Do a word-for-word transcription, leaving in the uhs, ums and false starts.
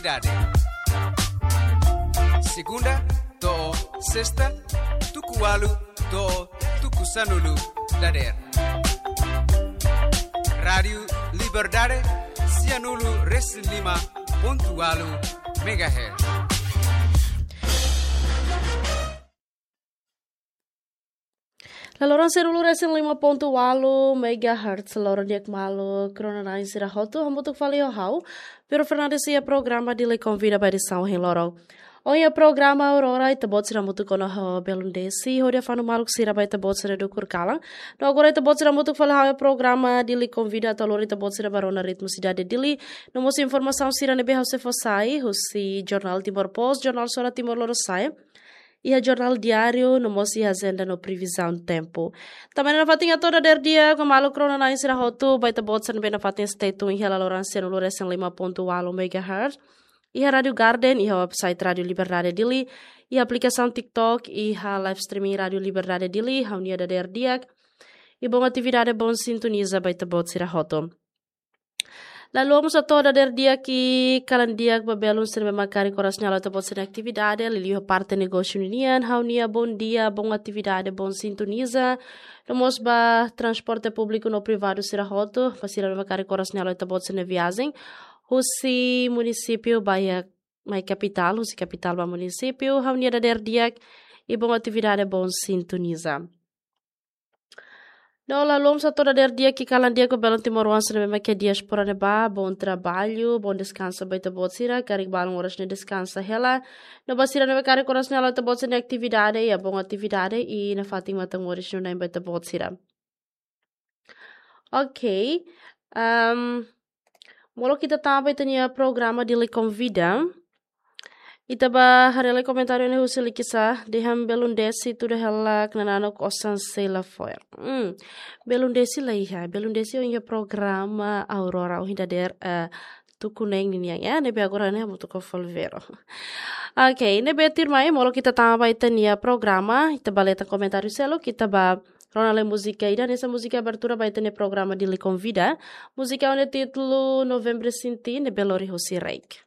Dade. Segunda to'o sesta, tuku ualu to'o tuku sanulu dadeer. Rádiu Liberdade, sianulu resin lima pontu ualu megahertz. La loron sianulu resin lima pontu ualu megahertz, loron di'ak maluk rona-na'in sira hotu, hamutuk fali ho ha'u, Pedro Fernandes iha programa Dili Konvida ba edisaun ohin loron. Ohin iha programa Aurora, ita-boot sira hamutuk ona ho Belun Desi, hodi fanu maluk sira ba ita-boot sira dukur kalan. No agora ita-boot sira hamutuk fali ho programa Dili Konvida atu lori ita-boot sira ba rona ritmu sidade Dili. No mós informasaun sira ne'ebé ha'u sei fó sai, husi Jornál Timor Post, Jornál Sora Timor Lorosa'e, iha Jornál Diáriu, no mós iha ajenda no previzaun tempu. Tanba ne'e nafatin hato'o dadeer di'ak maluk rona-na'in sira hotu, ba ita-boot sira ne'ebé nafatin stay tune iha la loron sianulu resin lima pontu ualu megahertz. Iha Rádiu Garden, iha website Rádiu Liberdade Dili, iha aplikasaun TikTok, iha live streaming Rádiu Liberdade Dili, ha'u-nia dadeer di'ak. I bom atividade, bom sintoniza ba ita-boot sira hotu. La haluha mós hato'o dadeer di'ak i kalan di'ak ba belun sira ne'ebé mak karik oras ne'e halo ita-boot sira-nia atividade, liuliu parte negósiu ninian, ha'u-nia bom dia, bom atividade, bom sintoniza. No mós ba transporte públiku no privadu sira hotu, ba sira ne'ebé mak karik oras ne'e halo ita-boot sira-nia viajen husi munisípiu ba iha mai kapitál, husi kapitál ba munisípiu, ha'u-nia dadeer di'ak i bom atividade, bom sintoniza. No la haluha mós hato'o dadeer di'ak i kalan di'ak ba belun timoroan sira ne'ebé mak iha diáspora ne'ebá, bom trabalho, bom deskansa ba ita-boot sira, karik balun oras ne'e deskansa hela. No ba sira ne'ebé mak karik oras ne'e halo ita-boot sira-nia atividade, iha bom atividade i nafatin matan moris nune'e ba ita-boot sira. Ok. Ahm, molok ita tama ba ita-nia programa Dili Konvida. Ita bá haree lai komentáriu ne'e husi Likisa, dehan Belun Desi tuda hela knanano kosan sei la fo'er. Hmm. Belun Desi la iha, Belun Desi ohin iha programa Aurora, ohin dadeer, eh, tuku neen ninian, ya, ne'ebé agora ne'e hamutuk ho Folvero. Ok, ne'ebé tuirmai, molok ita tama ba ita-nia programa, ita bá leta komentáriu seluk, ita bá rona lai múzika ida, hanesan múzika abertura ba ita-nia programa Dili Konvida. Múzika ho nia títulu Novembru Sinti, ne'ebé lori husi Reik.